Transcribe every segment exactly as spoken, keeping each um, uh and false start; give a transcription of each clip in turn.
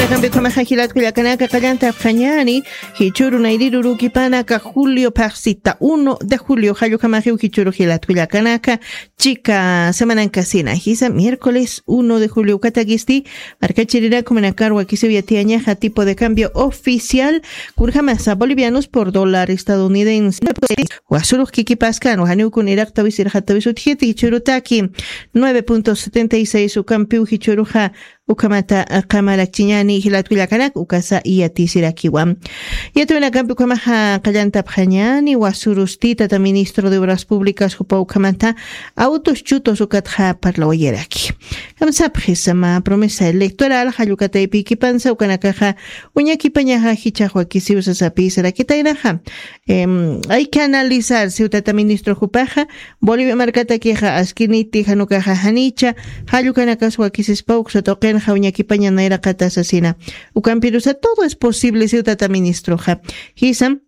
Kampi ukhamaxa jilatku llakanaka qallanta apxañani, jichuru nayriru rukipanaka julio phaxsita uno de julio jallukamaxiw jichuru jilatku llakanaka, chika semanankasina jisa miércoles uno de julio ukatakisti, markachirinaku manakarwa kisiw yatiyañaxa tipo de cambio oficial, kurjamasa bolivianos por dólar estadounidense. Wasurux kikipaskan wajaniw kun iraqtawis irqatawis utjiti jichurutaki nueve punto setenta y seis ukampiw jichuruxa, ukamata qamarakchiñani jilatku llakanak ukasa iyatisirakiwa. Yatawinakampi ukamaxa qallantapxañani wasurustitata ministro de obras públicas jupa ukamata autos chutos ukatxa parlawayaraki. Kamsapxisama promesa electoral jallukataypikipansa ukanakaxa uñakipañaxa jichaxwakisiw sasapisarakitaynaxa. Hay que analizar siwtata ministro jupaxa, bolivia markatakixa askiniti janukaxa janicha, jallukanakas wakisispa uksa tuqinxa uñakipaña nayraqatasasina. Ukampirusa todo es posible siwtata ministroxa. Jisam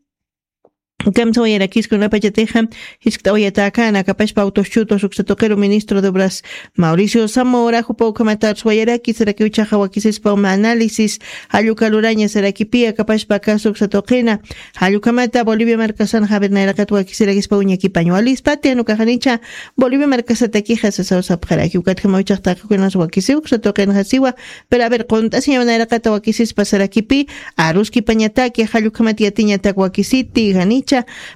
kamsawayarakiskunapachatixa, jiskt'awayatäkana kapashpa autoschutos uksa tuqiru ministro de obras, mauricio zamora jupa ukhamata arswayaraki sarakiw chaxa wakisispa uma análisis, jallukaluraña sarakipiya kapashpa kasu uksa tuqina, jallukamata bolivia markasan javer nayraqat wakisirakispa uñakipañwa lispati janukaxanicha, bolivia markasatakixa sasaw sapxaraki ukatjamaw chaxtaqakunas wakisiw uksa tuqinxasiwa. Pero a ver qunt'asiñaw nayraqata wakisispa sarakipi, aruskipañataki jallukhamat yatiñatak wakisiti janicha,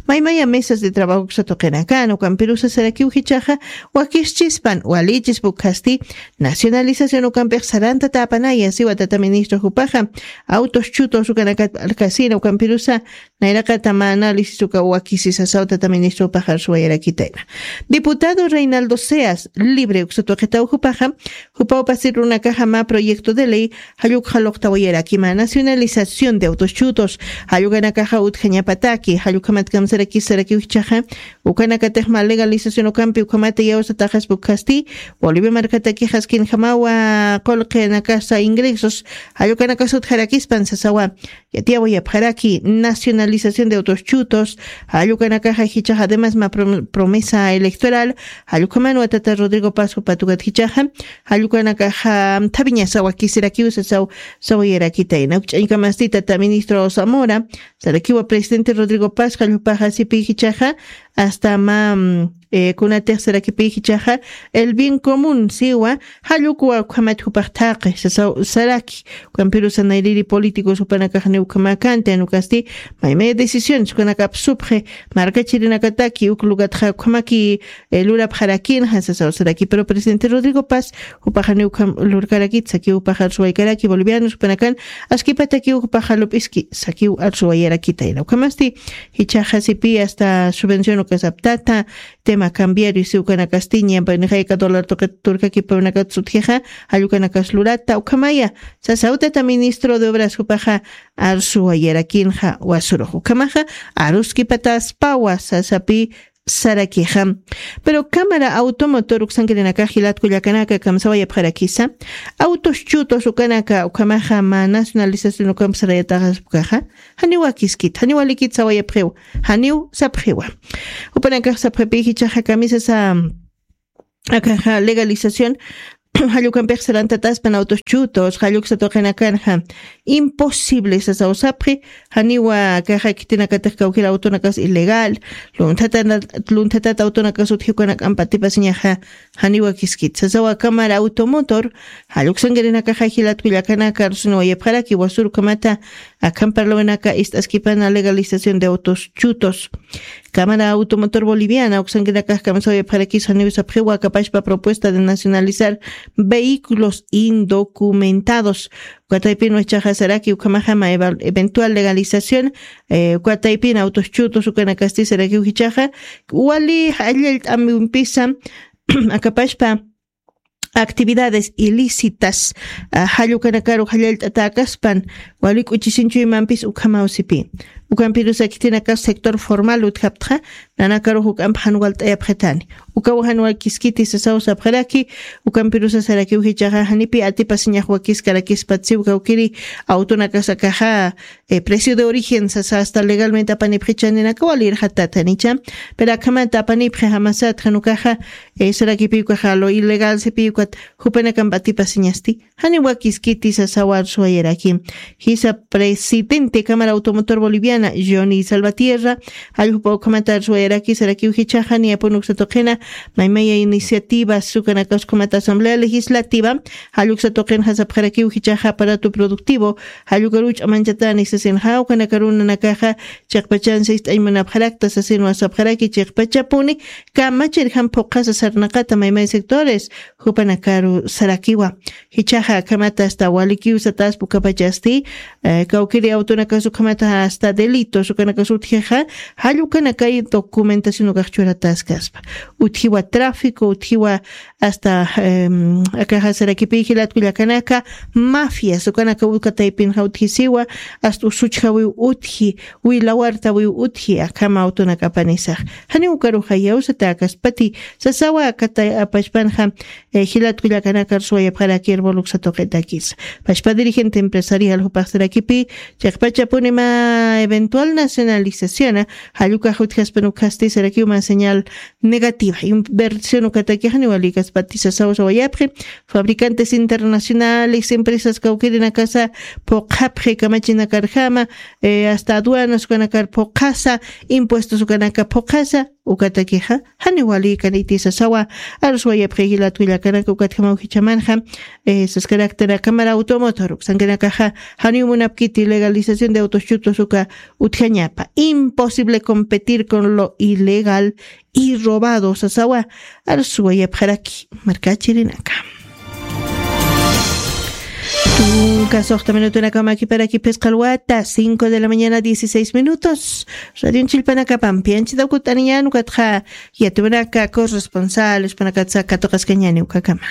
maymaya mesas de trabajo uksa tuqinakan ukampirusa sarakiw jichaxa, wakischispan walichispa ukhasti, nacionalización ukampix sarantata apanaya siwa tata ministro jupaxa, autos chutos ukanakat alkasina ukampirusa, nayraqata mä análisis uka wakisisasaw tata ministro jupaxa arsuwayarakitayna. Diputado reinaldo seas libre uksa tuqitaw jupaxa, jupaw pasir runakaxa mä proyecto de ley, jallukxa luqtawayaraki mä nacionalización de autos chutos, jallukanakaxa utjañapataki jallukhamat kamsarakisarakiw jichaxa, ukanakatix mä legalización ukampi ukhamata iyawsataxaspa ukhasti, bolivia markatakixaskinjamawa, qullqinakasa ingresos, jallukanakas utjarakispan sasawa. Yatiyawayapxaraki nacionalización de autos chutos, jallukanakaxa jichaxa además mä promesa electoral, jallukhamanwa tata rodrigo pasco patukat jichaxa, jallukanakaxa thaviñasa wakisirakiw sasaw, sawayarakitayna ukch'añkamasti tata ministro zamora, sarakiwa presidente rodrigo pasco jallpaxa sipi jichaxa, asta mä kunatix sarakipi jichaxa, el bien común siwa, jallukwa ukhamat jupax thaqi sasaw saraki. Ukampirusa nayriri políticos jupanakaxni ukhamäkanti anukasti, maymaya decisiones ukanakap supxi, markachirinakataki uk lugatxa ukhamaki lurapxarakinxa sasaw saraki pero presidente rodrigo paz, jupaxani ukham lurkarakit saki jupaxa arsuwaykaraki bolivianos jupanakan, askipataki jupaxa lup'iski sakiw arsuwayarakitayna ukhamasti, jichaxasipi asta subvención ukasaptata, tema cambiario siwkanakastiña nixayka dólar tuqit turkakipawnakatsutjixa, jallukanakas lurata ukhamaya, sasaw tata ministro de obras jupaxa, arsuwayarakinxa wasurux ukhamaxa, aruskipataspawa sasapi sarakixa. Pero cámara automotor uksankirinakax jilatku llakanaka kamsawayapxarakisa, autos chutos ukanaka ukhamaxa mä nacionalización ukamp sarayataxaspukaxa, janiw wakiskit janiw walikit sawayapxiw, janiw sapxiwa. Jupanakax sapxipi jichaxa kamisasa akaxa legalización, jallukampix sarantataspan autos chutos jalluksa tuqinakanxa, imposible sasaw sapxi. Janiwa akaxa khitinakatix kawkir autonakas ilegal, lunthatat lunthatat autonakas utji ukanak'ampa atipasiñaxa, janiwa kiskit sasawa cámara automotor, jalluksankirinakaxa jilatku llakanaka arusinawayapxaraki wasur ukhamata, akhan parlawinaka ist'askipana legalización de autos chutos. Cámara automotor boliviana uksankinakax kamsawayapxarakis janiw sapxiwa akapashpa propuesta de nacionalizar vehículos indocumentados, ukataypin wachaxasaraki ukhamajama eventual legalización, ukataypin autos chutos ukanakasti sarakiw jichaxa, wali jallallt'amimpisa akapashpa actividades ilícitas, jallukanakaru jallallt'atäkaspan, wali k'uchisinchuymampis ukhamaw sipi. Ukampirusa khitinakas sector formal utjaptxa, nanakarux uk'amp jan walt'ayapxitani. Ukaw jan wakiskiti sasaw sapxaraki, ukampirusa sarakiw jichaxa janipi atipasiñax wakiskarakispat siw kawkiri, awtunakas akaxa precio de origen sasa asta legalmente apanipxichaninakaw wali irxatat janicha. Pero akhamanta apanipxi jamasat janukaxa, sarakipiw kaxa lo ilegal sipiw Jupanakampa atipasiñasti jani wakiskiti sasawa arsuwayaraki. Jisa presidente Cámara Automotor Boliviana Johnny Salvatierra, jalljupa ukhamata arsuwayaraki sarakiw jichaxa niyapun uksatuqina maymaya iniciativa sukanakaskhamata Asamblea Legislativa, jalluksa tuqin jasapxarakiw jichaxa aparato productivo jallukaruch amanchatanis sasinxa ukanakarunanakaxa chiqpachan sist'añ munapxarakta sasin wasapxaraki chiqpachapuni kamachirjam phuqhasa sarnaqata maymay sectores jupanakaru sarakiwa. Jichaxa akhamata asta walikiw sataspa ukapachasti kawkiri awtunakasukhamata asta delitos ukanakasutjixa jallukanakay documentación ukaxchurataskaspa. Utjiwa tráfico utjiwa asta akaxa sarakipi jilatkullakanaka mafias ukanaka ukataypinxa utjisiwa asta usuchjawiw utji wilawartawiw utji akhama awtunakapanisax. Jani ukaruxa yawsata akaspati sasawa akata apachpanxa jilatkullakanakar suwayapxarakir boluksatuqitakis pachpa dirigente empresarial jupaxsarakipi chiqpachapunima eventual nacionalizaciona jallukax utjaspanukxasti sarakiw ma señal negativa inversión ukatakixani walikaspati sasaw sawayapxi fabricantes internacionales empresas kawkirinakasa phuqhapxi kamachinakarjama asta aduanas ukanakar phuqhasa impuestos ukanaka phuqhasa ukatakixa jani walikaniti sasawa arsuwayapxi jilatkullakanaka ukatjamaw jichamanxa saskaraktanaka mara automotor uksankanakaxa janiw munapkiti legalización de autos chutos uka utjañapa imposible competir con lo ilegal y robado sasawa arsuwayapxaraki markachirinaka. Tunka soxta minutunakama kiparaki phisqalwata cinco de la mañana dieciséis minutos. Radion chillpanakapampi anchita ukut'aniñan ukatxa yatuwanaka corresponsales panakatsa katuqaskañani ukakama.